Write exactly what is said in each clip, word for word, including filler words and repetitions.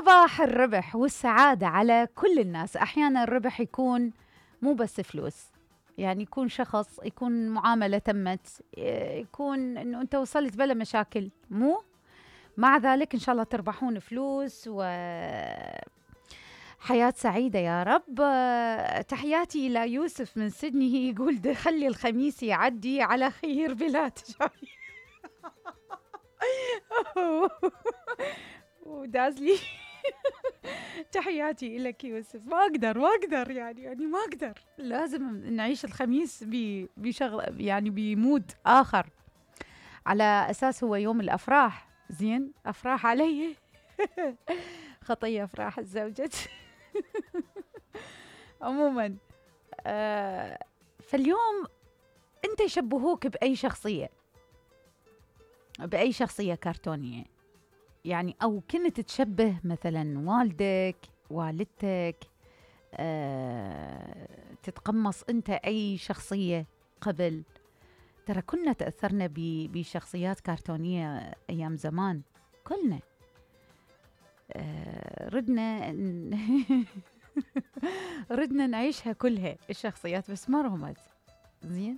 صباح الربح والسعادة على كل الناس. أحيانا الربح يكون مو بس فلوس، يعني يكون شخص، يكون معاملة تمت، يكون أنه أنت وصلت بلا مشاكل، مو مع ذلك إن شاء الله تربحون فلوس وحياة سعيدة يا رب. تحياتي إلى يوسف من سيدني، يقول ده خلي الخميس يعدي على خير بلا تشاي. ودازلي تحياتي لك يوسف. ما اقدر ما اقدر يعني يعني ما اقدر، لازم نعيش الخميس بشغل يعني بمود اخر، على اساس هو يوم الافراح. زين، افراح علي خطيه افراح الزوجة. عموما آه فاليوم انت يشبهوك باي شخصيه، باي شخصيه كرتونيه يعني، أو كنت تشبه مثلا والدك، والدتك، أه، تتقمص أنت أي شخصية قبل. ترى كنا تأثرنا بشخصيات كرتونية أيام زمان كلنا. أه ردنا ردنا نعيشها كلها الشخصيات، بس ما رهمت. زين،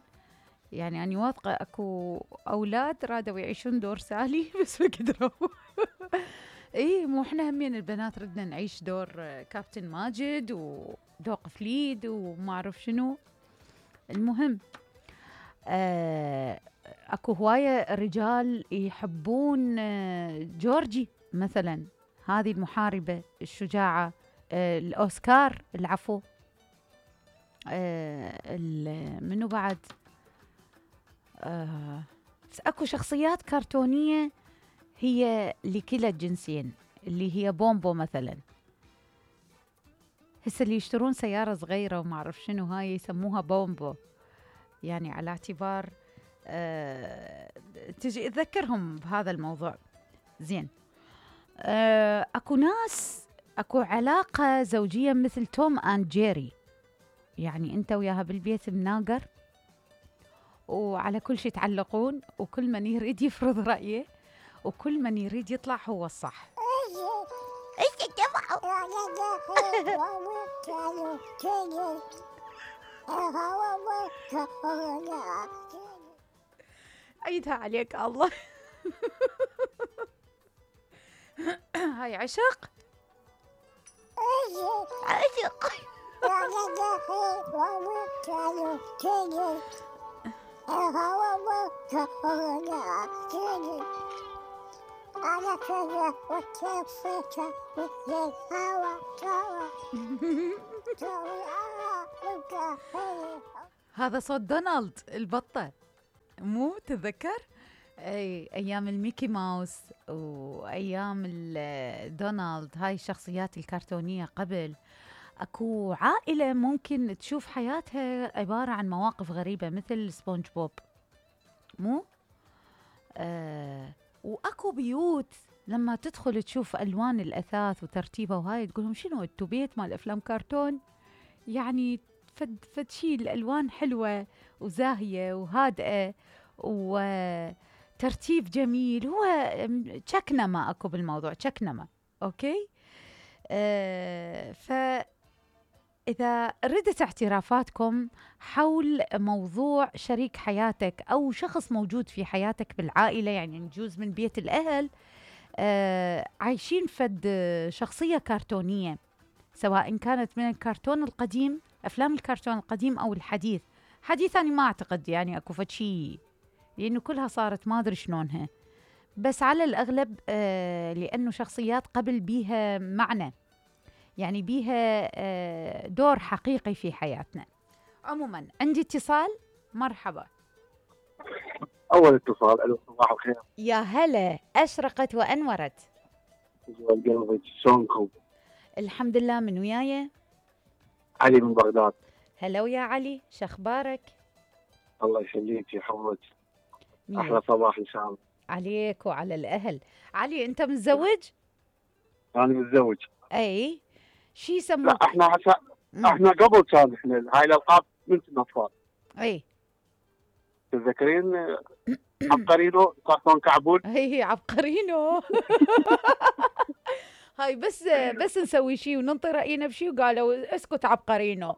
يعني أنا واثقة أكو أولاد رادوا يعيشون دور سالي بس ما قدروا. إيه، مو إحنا همين البنات ردنا نعيش دور كابتن ماجد ودور قفليد وما أعرف شنو. المهم آه أكو هواية رجال يحبون آه جورجي مثلا، هذه المحاربة الشجاعة، آه الأوسكار العفو، آه منو بعد، آه اكو شخصيات كرتونية هي لكلا الجنسين، اللي هي بومبو مثلا. هسه اللي يشترون سيارة صغيرة وما اعرف شنو هاي يسموها بومبو، يعني على اعتبار آه تجي تذكرهم بهذا الموضوع. زين، آه اكو ناس، اكو علاقة زوجية مثل توم اند جيري، يعني انت وياها بالبيت مناقر وعلى كل شيء تعلقون، وكل من يريد يفرض رأيه، وكل من يريد يطلع هو الصح. عيدها عليك الله. هاي عشق عشق. هذا صوت دونالد البطة، مو تذكر اي ايام الميكي ماوس وايام دونالد، هاي الشخصيات الكرتونية قبل. اكو عائلة ممكن تشوف حياتها عبارة عن مواقف غريبة مثل سبونج بوب، مو آه واكو بيوت لما تدخل تشوف الوان الاثاث وترتيبها وهاي تقولهم شنو انتو بيت مال افلام كرتون؟ يعني فد فد شي الالوان حلوة وزاهية وهادئة وترتيب جميل. هو تشكنمة اكو بالموضوع، تشكنمة. اوكي، آه ف إذا ردت اعترافاتكم حول موضوع شريك حياتك أو شخص موجود في حياتك بالعائلة، يعني نجوز من بيت الأهل، آه عايشين فد شخصية كرتونية، سواء كانت من الكرتون القديم، أفلام الكرتون القديم أو الحديث. حديث أنا ما أعتقد يعني أكو فد شي، لأنه كلها صارت ما أدري شلونها، بس على الأغلب آه لأنه شخصيات قبل بيها معنى، يعني بيها دور حقيقي في حياتنا. عموما عندي اتصال، مرحبا. أول اتصال. ألو، صباح الخير. يا هلا، أشرقت وأنورت. قلبك شلونكم؟ الحمد لله، من وياي؟ علي من بغداد. هلا ويا علي، شخبارك؟ الله يخليك يا حمد، أحلى صباح إن شاء الله عليك وعلى الأهل. علي أنت متزوج؟ أنا متزوج. أي شي يسموك؟ لا احنا عشان احنا قبل كان احنا هاي الالقاب من كنا اطفال. اي تتذكرين عبقرينو كرتون كعبول؟ اي عبقرينو. هاي بس بس نسوي شيء وننطي راينا بشيء وقالوا اسكت عبقرينو.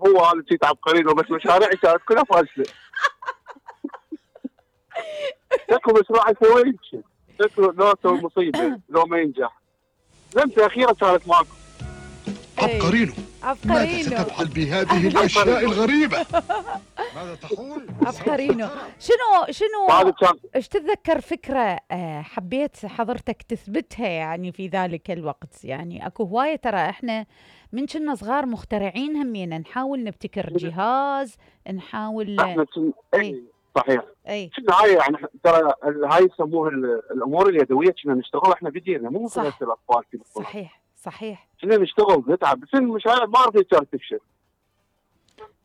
هو هذا شيء عبقرينه، بس مشاريع كانت كلها فاشله. شكله مشروع يسوي شيء، شكله لو سوي مصيبه لو ما ينجح. لمسه اخيره كانت ماكو. عبقرينو، عبقرينو ماذا ستفعل بهذه الاشياء الغريبه؟ ماذا تقول؟ عبقرينو. شنو شنو بعد كان ايش تتذكر فكره آه، حبيت حضرتك تثبتها يعني في ذلك الوقت؟ يعني اكو هوايه ترى احنا من كنا صغار مخترعين همينا، نحاول نبتكر جهاز، نحاول احنا كن... اي اي صحيح. اي كنا هاي يعني ترى ال- هاي يسموها ال- الامور اليدويه، كنا نشتغل احنا بايدينا، مو مثل صح. هسه الاطفال كذا. صحيح صحيح. كنا نشتغل نتعب، بس المشاريع ما اعرف كانت تفشل.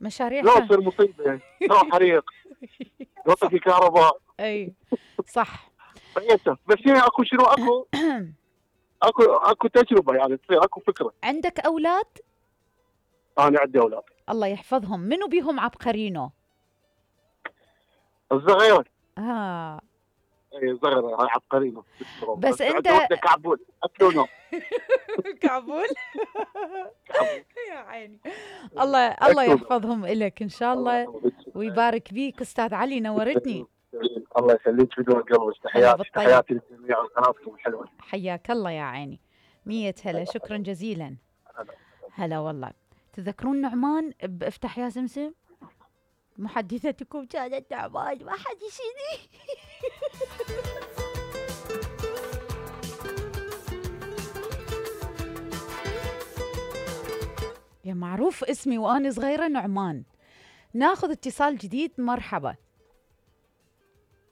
مشاريع لو كان- تصير مصيبه، لو حريق، لو طفي كهرباء، اي صح. فيتف. بس هي اكو شنو اكو اكو اكو تجربه يعني تصير اكو فكره. عندك اولاد؟ انا عندي اولاد. الله يحفظهم. منو بيهم عبقرينو؟ الصغيره اه اي الصغيره هاي عبقرينه. بس انت كعبول اكلونه. كعبول. يا عيني. الله الله يحفظهم إلك ان شاء الله ويبارك بيك. استاذ علي نورتني. الله يخليك بدون قلبك. تحياتي بالطيب. تحياتي للجميع وقناتكم الحلوه. حياك الله يا عيني. مية هلا. شكرا جزيلا. هلا والله. تذكرون نعمان بافتح يا سمسم؟ محدثتكم كانت نعمان، ما حد يشيني. يا معروف اسمي وأنا صغيرة نعمان. ناخذ اتصال جديد. مرحبا.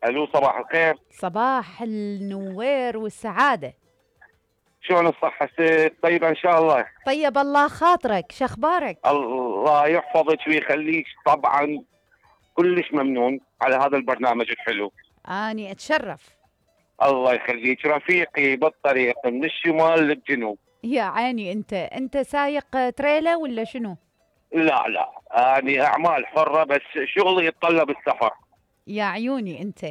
الو صباح الخير. صباح النوير والسعادة. شلون الصحة ست؟ طيبة ان شاء الله. طيب الله خاطرك، شخبارك؟ الله يحفظك ويخليك. طبعا كلش ممنون على هذا البرنامج الحلو. اني اتشرف. الله يخليك. رفيقي بالطريق من الشمال للجنوب. يا عيني. انت انت سايق تريلا ولا شنو؟ لا لا اني اعمال حرة، بس شغلي يتطلب السفر. يا عيوني. انت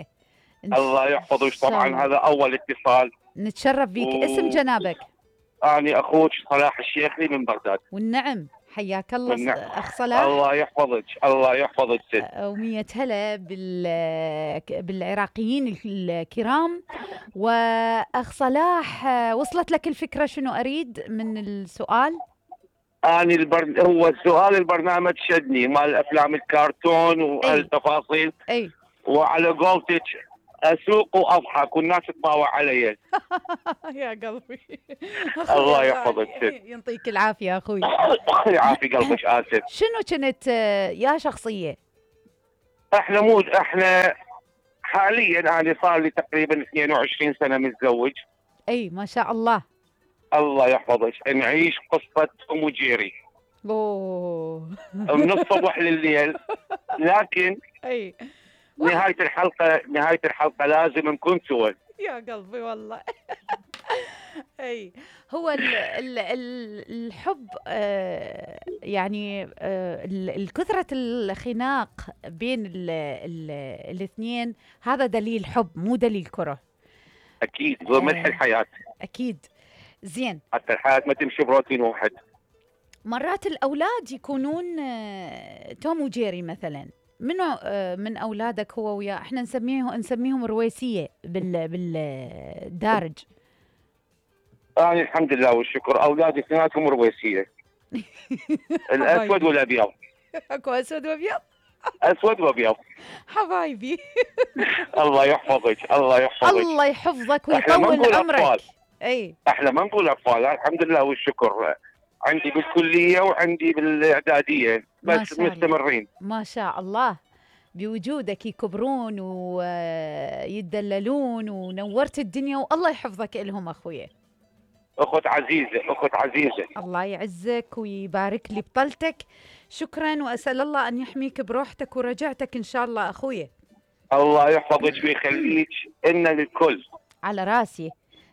الله يحفظك. طبعا هذا اول اتصال. نتشرف بيك. و... اسم جنابك؟ اني اخوك صلاح الشيخلي من بغداد. والنعم. حياك الله. والنعم. اخ صلاح. الله يحفظك. الله يحفظك ست. ومية هلا بال بالعراقيين الكرام. واخ صلاح، وصلت لك الفكرة شنو اريد من السؤال؟ اني البر... هو السؤال البرنامج شدني مال افلام الكرتون والتفاصيل. اي وعلى قولتك اسوق واضحك والناس تطاوع علي. يا قلبي. الله يحفظك ست. يعطيك العافية اخوي. يعافي قلبك. اسف. شنو كنت يا شخصية؟ احنا مو احنا حاليا انا صار لي تقريبا اثنين وعشرين سنة متزوج. اي ما شاء الله. الله يحفظك. نعيش قصة ام وجيري. اوه. من الصبح لليل. لكن اي نهاية الحلقة نهاية الحلقة لازم نكون سوا. يا قلبي والله. اي هو ال ال ال الحب آه يعني آه الكثرة الخناق بين ال ال الاثنين هذا دليل حب مو دليل كره. اكيد. هو ملح الحياة. اكيد. زين. حتى الحياة ما تمشي بروتين واحد. مرات الاولاد يكونون آه توم وجيري مثلا. منو آه من اولادك هو ويا؟ احنا نسميه نسميهم رويسيه بال بالدارج. أنا آه الحمد لله والشكر اولادي اثنيناتهم رويسيه. الاسود والابيض. اكو اسود وابيض؟ اسود وابيض. حبايبي. الله يحفظك. الله يحفظك. الله يحفظك ويطول عمرك. اي احنا ما نقول اطفال. الحمد لله والشكر. عندي بالكليه وعندي بالاعداديه بس مستمرين. ما شاء الله. بوجودك يكبرون ويدللون ونورت الدنيا والله يحفظك لهم اخويا. اخت عزيزه. اخت عزيزه. الله يعزك ويبارك لي بطلتك. شكرا واسال الله ان يحميك بروحتك ورجعتك ان شاء الله اخويا. الله يحفظك ويخليك. إن للكل. على راسي.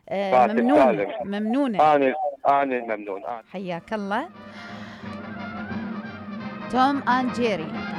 آه ممنون. ممنونه. انا انا ممنون. أنا. حياك الله. توم اند جيري.